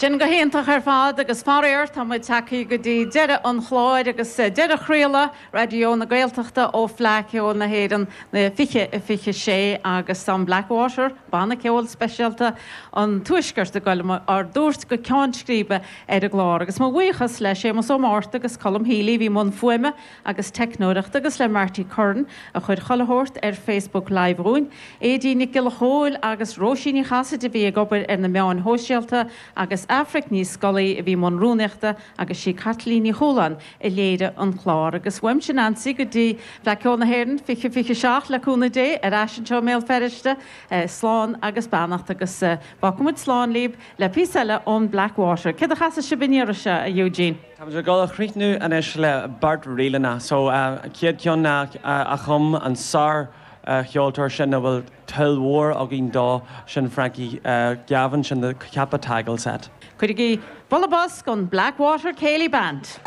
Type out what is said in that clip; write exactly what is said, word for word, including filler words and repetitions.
Sin go hiontach ar fad agus faraor tá muid tagtha go dtí deireadh an chláir agus deireadh chraoladh Raidió na Gaeltachta ó Fleadh Cheoil na hÉireann na fiche a fiche sé agus an Blackwater banna ceoil speisialta an tuaisceart ag dul ár dtabhairt go ceann scríbe ar an gclár agus mo bhuíochas le Séamus Ó Márta agus Colm Healy bhí i mbun fuaime agus teicneoireachta agus le Marty Curran a chuir chuile shórt ar Facebook Live dúinn, Éidí Nic Giolla Chóill agus Róisín Ní Chasaide a bhí ag obair ar na meáin shóisialta agus Aifric Ní Scolaí a bhí i mbun rúnaíochta agus sí Caitlín Ní Chualáin a léirigh an clár agus uaimse Nancy go dtí Fleadh Cheoil na hÉireann fiche fiche seacht le cúnamh Dé ar ais anseo i mBéal Feirste slán agus beannacht agus fágfaimid slán libh le píosa eile ón Blackwater. Céard a chasfaidh sibh an iarraidh seo a Eugene. Tá ag dul a chríochnú anois le beirt ríleanna, so chéad cheann a chum an sár cheoltóir sin a bhfuil toil mhór againn dó sin Frankie Gavin sin the Cappataggle set. Cuirigí bualadh bos don Blackwater Céilí Band.